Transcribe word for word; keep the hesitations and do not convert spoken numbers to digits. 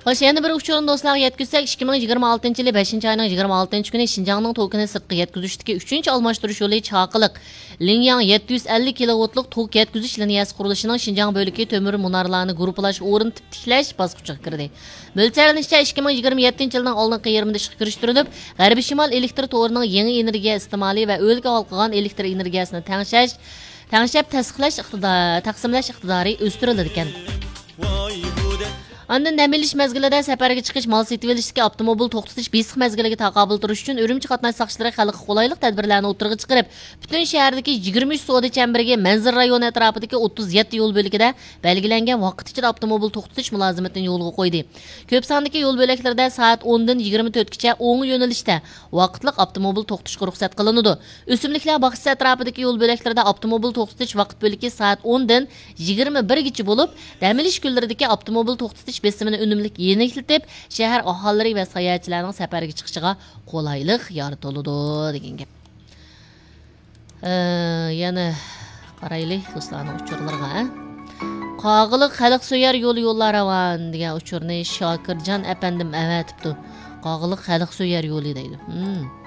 خوش، يەنە بىر ئۇچۇرنى دوستلارغا يەتكۈزسەك، ئىككى مىڭ يىگىرمە ئالتىنچى يىلى بەشىنچى ئاينىڭ يىگىرمە ئالتىنچى كۈنى شىنجاڭنىڭ توكىنى سىرتقا يەتكۈزۈشتىكى ئۈچىنچى ئالماشتۇرۇش يولى چاقىلىق لىڭياڭ يەتتە يۈز ئەللىك كىلوۋولتلۇق توك يەتكۈزۈش لىنىيەسى قۇرۇلۇشىنىڭ شىنجاڭ بۆلىكى تۆمۈر مۇنارلارنى گۇرۇپپىلاش ئورنىتىپ تىكلەش باسقۇچىغا كىردى. مۆلچەرلىنىشىچە، ئىككى مىڭ يىگىرمە يەتتىنچى يىلنىڭ ئالدىنقى يېرىمىدا ئىشقا كىرىشتۈرۈلۈپ، غەربىي شىمال ئېلېكتر تورىنىڭ يېڭى ئېنېرگىيە ئىستېمالى ۋە ئۆلكە ھالقىغان ئېلېكتر ئېنېرگىيەسىنى تەڭشەش، تەڭشەپ تەسىقلەش ئىقتىدا-، تەقسىملەش ئىقتىدارى ئۆستۈرۈلىدىكەن. ئاندىن دەم ئېلىش مەزگىلىدە سەپەرگە چىقىش، مال سېتىۋېلىشتىكى ئاپتوموبىل توختىتىش بېسىق مەزگىلىگە تاقابىل تۇرۇش ئۈچۈن ئۈرۈمچى قاتناش ساقچىلىرى خەلققە قولايلىق تەدبىرلەرنى ئوتتۇرىغا چىقىرىپ، پۈتۈن شەھەردىكى يىگىرمە ئۈچ سودا چەمبىرىكى، مەنزىرە رايونى ئەتراپىدىكى ئوتتۇز يەتتە يول بۆلىكىدە بەلگىلەنگەن ۋاقىت ئىچىدە ئاپتوموبىل توختىتىش مۇلازىمىتىنى يولغا قويدى. كۆپ ساندىكى يول بۆلەكلىرىدە سائەت ئوندىن يىگىرمە تۆتكىچە ئوڭ يۆنىلىشتە ۋاقىتلىق ئاپتوموبىل توختىتىشقا رۇخسەت قىلىنىدۇ. ئۆسۈملۈكلەر باغچىسى ئەتراپىدىكى يول بۆلەكلىرىدە ئاپتوموبىل توختىتىش ۋاقىت بۆلىكى سائەت ئوندىن يىگىرمە بىرگىچە بولۇپ، دەم ئېلىش كۈنلىرىدىكى ئاپتوموبىل توختىتىش بېسىمىنى ئۈنۈملۈك يېنىكلىتىپ، شەھەر ئاھالىلىرى ۋە ساياھەتچىلەرنىڭ سەپەرگە چىقىشىغا قولايلىق يارىتىلىدۇ، دېگەن گەپ. ئە، يەنە قارايلى دوستلارنىڭ ئۇچۇرلىرىغا، ھە؟ قاغىلىق خەلقسۆيەر يولى يوللار راۋان دېگەن ئۇچۇرنى شاكىرجان ئەپەندىم ئەۋەتىپتۇ. قاغىلىق خەلقسۆيەر يولى دەيدۇ. ھىم.